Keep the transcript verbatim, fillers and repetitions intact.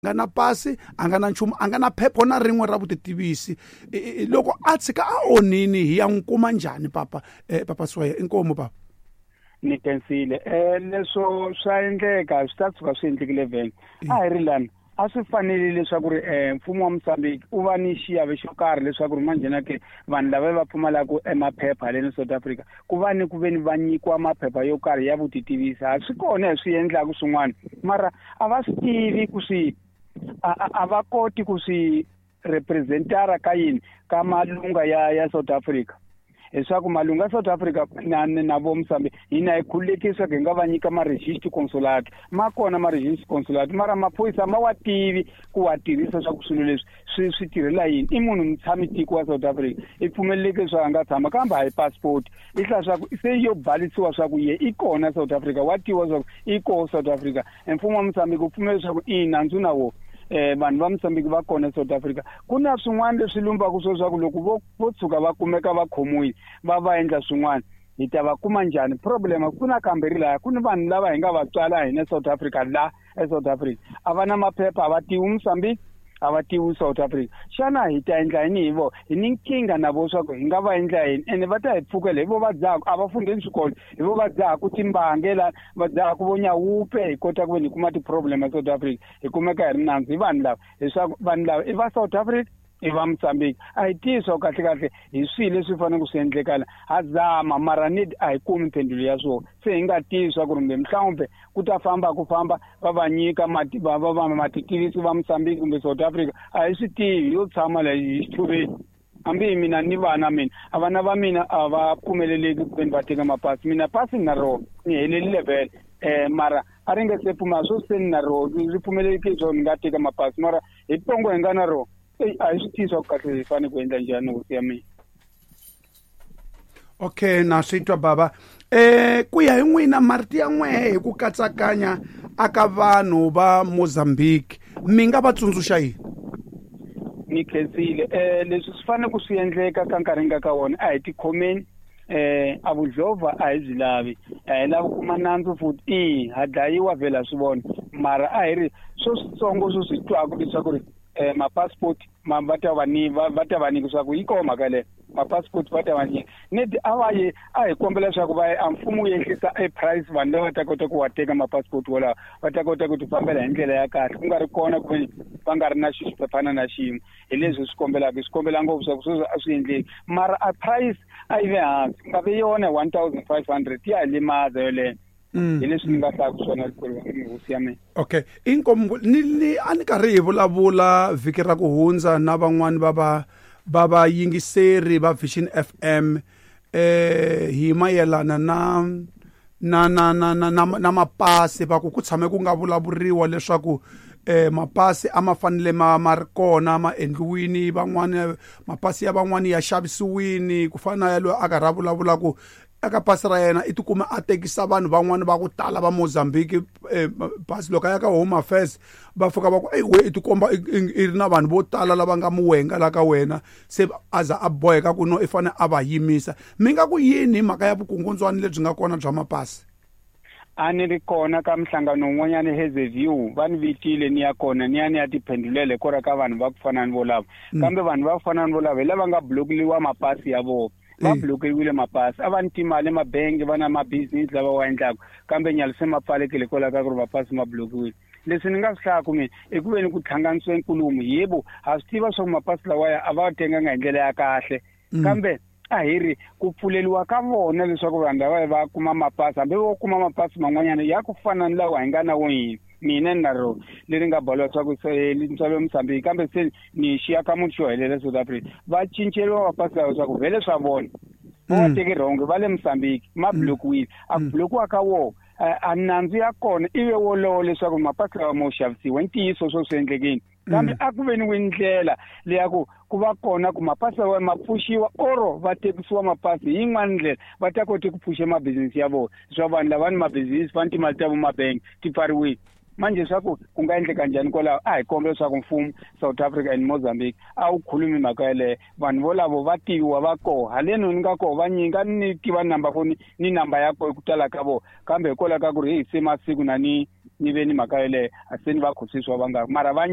Nga na pasi, a nga na nchumu, a nga na phepha na rin'we ra vutitivisi. Loko a tshika a onhini, hi ya n'wi kuma njhani papa? eh, papa Swaya, inkomu papa. Ni khensile. um leswo swa endleka, swi ta tshuka swi endlekile vhele. A hi ri lani, a swi fanele leswaku ri um mfumo wa Mozambique u va ni xiave xo karhi leswaku ri manjhena ke vanhu lava va pfumalaka emaphepha haleni South Africa, ku va ni ku ve ni va nyikiwa maphepha yo karhi ya vutitivisi. Ha swi kona hi swi endlaku swin'wana, mara a va swi tivi ku swi a a va koti ku swi representara ka yini, ka malunga ya ya South Africa, leswaku malunga ya South Africa na na vo Mozambique hina hi khululekisa ku hi nga va nyika ma-register consulate. Ma kona ma-register consulate, mara maphorisa ma wa tivi ku wa tirhisa swa ku swilo leswi swi swi tirhela yini. I munhu mutshami tiko wa South Africa, i pfumeleleke leswaku a nga tshama, kambe a hi passport i hlaya swa ku se yo balisiwa swa ku ye i kona South Africa, wa tiviwa swa ku i koho South Africa. E mfumo wa Mozambique wu pfumela leswaku i nandzu na wo eh vanhu va Mozambique va kona South Africa. Ku na swin'wana leswi lumbaka swo swa ku loko vo vo tshuka va kumeka va khomiwile, va va endla swin'wana, hi ta va kuma njhani? Problem ku na kambirhi laya, ku ni vanhu lava hi nga va tswala hina South Africa, la eSouth Africa a va na maphepha, a va tivi Mozambique, a va tivi South Africa. Xana hi ta endla yini hi vo? Hi ni nkingha na vo swa ku hi nga va endla yini, ene va ta hi pfukela. Hi vo va dzahaku, a va fundeni swikolo, hi vo va dzahaku timbange la, va dzahaku vo nyawupe. Hi kota ku ve ni kuma ti-problem eSouth Africa, hi kumeka hi ri nandzu hi vanhu lava, leswaku vanhu lava i va South Africa, i va Mozambique, a hi tivi swa kahle kahle hi swihi leswi faneleke swi endlekala. Ha zama, mara ni a hi kumi mphendvulo ya swona. Se hi nga tivi swa ku ri mbe mhlawumbe ku ta famba ku famba va va nyika mati, va va va matitivisi va Mozambique kumbe South Africa, a hi swi tivi. Yo tshama la hi xithuveni, hambi hi mina ni vana mina, a vana va mina a va pfumeleleki ku veni va teka mapasi. Mina pasi ni na rona, ni helelile vhele, um mara a ri nga se pfumela swo se ni na rona ri pfumeleleki leswaku ni nga teka mapasi, mara hi pongo hi nga na rona, eyi, a hi swi tivi swa ku kahle hi fanele ku endla njhani, hosi ya mina. Okay, na swi twa baba. eh ku ya hi n'wina, marito ya n'wehe hi ku katsakanya aka vanhu va Mozambique, mi nga va tsundzuxa yini? Ni khensile. um leswi swi fanele ku swi endleka ka nkarhi nga ka wona, a hi tikhomeni. eh a vudlova a hi byi lavi, a hi lavi kuma nandzu futhi. I ha dlayiwa vhela, swi vona, mara a hi ri swo switsongo swo swi twaka leswaku ri eh ma-passport ma va ta va ni va va ta va nyika, swa ku yi koho mhaka leyo, ma-passport va ta va nyika. Nedi a va ye a hi kombela leswaku va a mfumo wu ehlisa e price, vanhu lava ta kota ku wa teka ma-passport wolawo, va ta kota ku ti fambela hi ndlela ya kahle, ku nga ri kona ku ve va nga ri na xiphephana na xin'we. Hi leswi hi swi kombelaka, hi swi kombela ngopfu swa ku sweswi a swi endleki, mara a price a yi ve hansi, ku nga ve yona one thousand five hundred, ya hi limaza yoleyo. Hi leswi ni nga hlaku swona, hosi ya mina. Okay, inkomu. Ni ni a ni karhi hi vulavula vhiki ra ku hundza na van'wani va va va vayingiseri va Vision F M eh hi mayelana na na na na na na, na mapasi. Va ku ku tshame ku nga vulavuriwa leswaku eh mapasi a ma fanele ma ma ri kona, ma endliwini, van'wani mapasi ya van'wani ya xavisiwini, ku fana na ya loyi a karhi a vulavula ku eka pasi ra yena i tikuma a tekisa vanhu van'wani va ku tala va Mozambique eh, pasi. Loko a ya ka Home Affairs, va fika va ku, "Eyi we, i tikomba i ri na vanhu vo tala lava nga muwenga la ka wena." Se a za a boheka ku no i fanele a va yimisa. Mi nga ku yini hi mhaka ya vukungundzwani lebyi nga kona bya mapasi? A ni ri kona ka minhlangano wun'wanyana Hazyview, va ni vitile ni ya kona, ni ya ni ya tiphendhulela hikwalaho ka vanhu va ku fana ni volavo. Kambe vanhu va ku fana ni volavo hi lava nga blokeliwa mapasi ya vona, va blokeriwile mapasi. A va ni timali emabengi, va na mabizinisi lava wa endlaka, kambe nyalo se ma pfalekile hikwalaho ka ku ri mapasi ma blokiwile. Leswi ni nga swi hlayaku mina i ku ve ni ku hlanganisiwe nkulumo. Yebo, ha swi tiva swa ku mapasi lawaya a va tenganga hi ndlela ya kahle, kambe a hi ri ku pfuleliwa ka vona leswaku vanhu lava va kuma mapasi, hambi vo kuma mapasi man'wanyana ya ku fana ni lawa hi nga na wo hina. Mina ni na rona leri nga baliwa swa ku se ntswalo Mozambique, kambe se ni xiya ka munhu xo helela South Africa, va cinceriwa mapasi lawa swa ku vhele swa vona va wa teki wrong, va le Mozambique, ma blokiwile. A ku blokiwa ka wona, a nandzu ya kona i ve wolowo leswaku mapasi lawa mo xavisiwa. I ntiyiso swo swi endlekini, kambe a ku ve ni ndlela leya ku ku va kona ku mapasi lawa ma pfuxiwa, oro va tekisiwa mapasi hi yin'wana ndlela, va ta kota ku pfuxa mabizinisi ya vona. Swa vanhu lava ni mabizinisi, va ni timali ta vo mabengi ti pfariwile manje, swa ku ku nga endleka njhani kwalaho? A hi kombela leswaku mfumo South Africa and Mozambique a wu khulumi mhaka yeleyo. Vanhu volavo va tiviwa, va koho haleni ni nga koho, va nyinga ni tiva number foni ni namba ya koho ku tala ka vona, kambe hikwalaho ka ku ri heyi se masiku na ni ni ve ni mhaka yeleyo a se ni va khosisiwa vangaki mara va